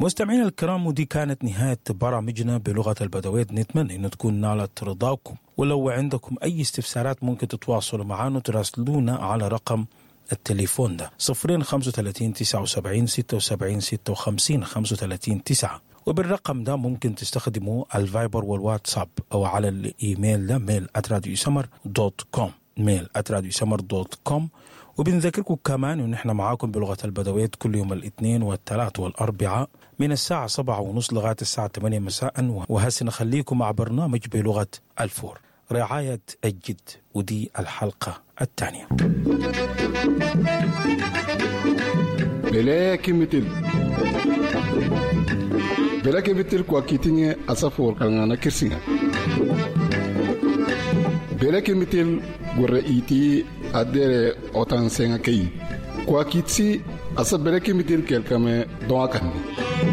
مستمعينا الكرام، ودي كانت نهاية برامجنا بلغة البدويت. نتمنى أن تكون نالت رضاكم، ولو عندكم أي استفسارات ممكن تتواصلوا معنا وتراسلونا على رقم التليفون ده 0 35 79 76 56 35 9، وبالرقم ده ممكن تستخدموا الفايبر والواتساب، أو على الإيميل ده mail@radiosmr.com، mail@radiosmr.com. وبنذكركم كمان إن إحنا معاكم بلغة البدويت كل يوم الاثنين والثلاث والأربعاء من الساعة 7:30 لغاية الساعة 8 مساء. وهسه نخليكم مع برنامج بلغة الفور، رعاية الجد، ودي الحلقة الثانية. Bele kimitil bele kimitil kwa kitinge asafor kangana kirsinga bele kimitil gore iti adere otan senga kei kwa kitsi asa bele kimitil kelkame doa kanni.